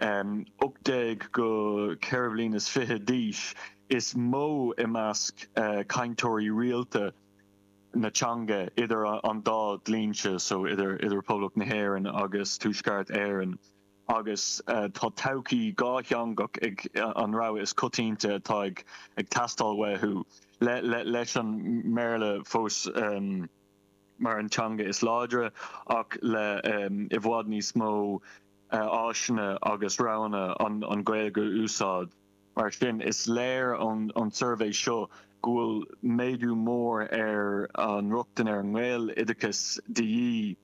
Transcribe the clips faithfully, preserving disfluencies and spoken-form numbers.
ocht déag go ceithre bliana is fiche d'aois is mó i measc cainteoirí rialta na teanga idir an dá dlínse, so idir idir Poblacht na hÉireann agus Tuaisceart Éireann, agus tá todhchaí dhátheangach ag an rogha is coitianta atá ag ag teastáil uathu, le le leis an mBéarla fós mar an teanga is láidre ach le i bhfad níos mó áiseanna agus roghanna an an Ghaeilge a úsáid. Mar sin, is léir ón ón suirbhé seo go bhfuil méadú mór ar an rochtain ar an nGaeloideachas de dhíth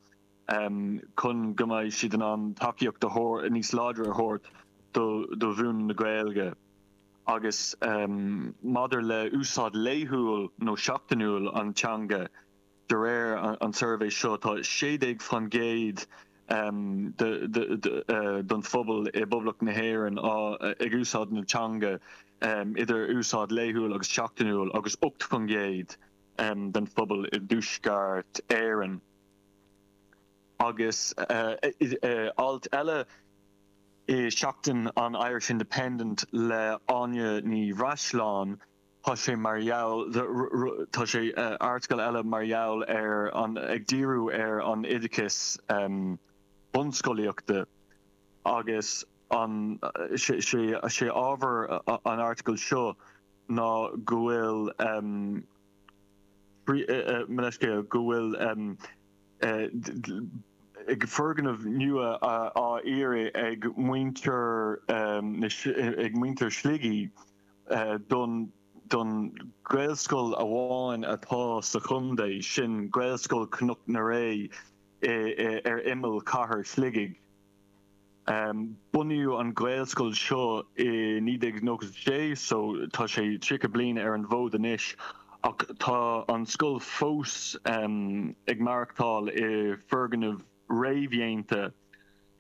chun go mbeidh siad in ann tacaíocht a thabhairt níos láidre a thabhairt do do mhúineadh na Gaeilge. Agus maidir le úsáid laethúil nó seachtainiúil an teanga, de réir an tsuirbhé seo, tá sé déag faoin gcéad den phobal i bPoblacht na hÉireann ag úsáid na teanga idir úsáid laethúil agus seachtainiúil agus ocht faoin gcéad den phobal i dTuaisceart Éireann. Agus alt eile i Seachtain an Irish Independent le Áine Ní Bhreisleáin, tá sé mar gheall tá sé airteagal eile mar gheall ar an ag díriú ar an oideachas bunscolaíochta agus an sé sé ábhar an airteagail seo ná go bhfuil leithscéal go bhfuil foirgneamh nua á iarraidh ag muintir ag muintir Shligigh don don Ghaelscoil amháin atá sa chontae, sin Gaelscoil Chnoc na Ré ar imeall chathair Shligigh. Bunaíodh an Ghaelscoil seo i naoi déag nócha sé, so tá sé tríocha bliain ar an bhfód anois, ach tá an scoil fós ag maireachtáil i foirgneamh réamhdhéanta.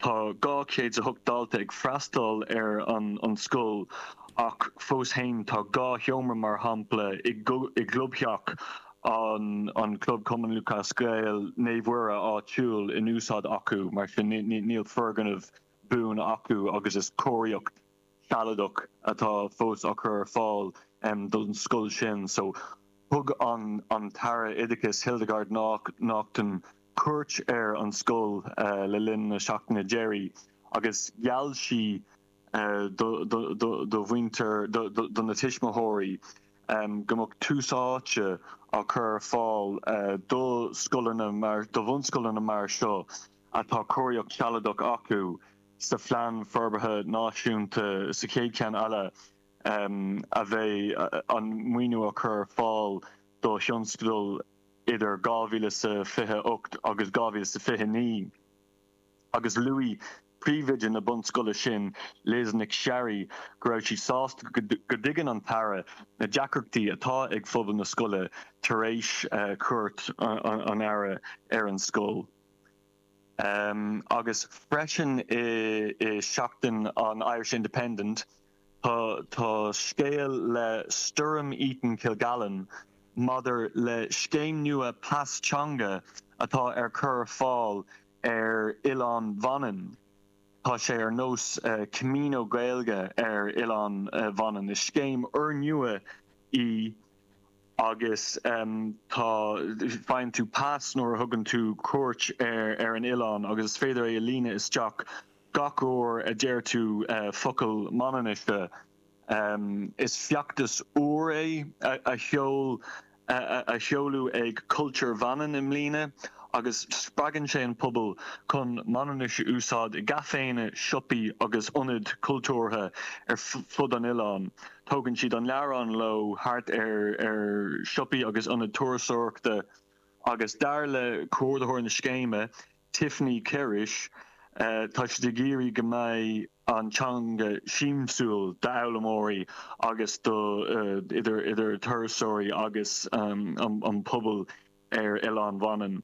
Tá dhá chéad is a hocht dalta ag freastal ar an an scoil ach fós féin tá dhá sheomra, mar shampla, i gclubtheach an an Club Cumann Lúthchleas Gael Naomh Mhuire áitiúil in úsáid acu. Mar sin, níl foirgneamh buan acu agus is cóiríocht sealadach atá fós á cur ar fáil don scoil sin. So thug an an tAire Oideachais Hildegarde Naughton cuairt ar an scoil le linn na seachtaine deiridh agus gheall sí do do mhuintir do na tuismitheoirí go mbeadh tús áite á cur ar fáil do scoileanna mar do bhunscoileanna mar seo atá cóiríocht sealadach acu sa phlean forbartha náisiúnta, sa chéad cheann eile a bheidh an maoiniú á cur ar fáil do thionscadail idir dhá mhíle is a fiche a hocht agus dhá mhíle is a fiche naoi. Agus luaigh príomhoide na bunscoile sin, Liz Nic Searraigh, go raibh sí sásta go dtuigeann an tAire na deacrachtaí atá ag phobal na scoile tar éis chuairt an Aire ar an scoil. Agus freisin i Seachtain an Irish Independent, tá tá scéal le Stoirm Eaton Kilgallen maidir le scéim nua pas teanga atá ar cur ar fáil ar Oileán Mhanann. Tá sé ar nós Camino Gaeilge ar Oileán Mhanann. Is scéim úrnua í agus tá faigheann tú pas nuair a thugann tú cuairt ar ar an oileán agus is féidir é a líonadh isteach gach uair a deir tú focal Manainnise. Is feachtas úr é a sheol a sheoladh ag Culture Vannin i mbliana agus spreagann sé an pobal chun Manainnis a úsáid i gcaiféanna, siopaí agus ionaid chultúrtha ar fud an oileáin. Tógann siad an leabhrán leo thart ar ar siopaí agus ionaid turasóireachta agus dar le comhordaitheoir na scéime, Tiffany Cerish, tá siad ag iarraidh go mbeidh an teanga siamsúil d'fhoghlaimeoirí agus do idir idir turasóirí agus an pobal ar Oileán Mhanann.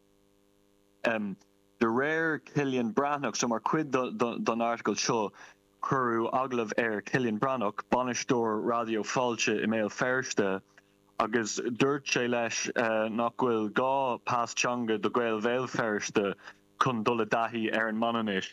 De réir Cillian Breathnach, so mar chuid don airteagal seo cuireadh agallamh ar Cillian Breathnach, bainisteoir Raidió Fáilte i mBéal Feirste, agus dúirt sé leis nach bhfuil gá pas teanga do Ghaeil Bhéal Feirste chun dul i dtaithí ar an Manainnis.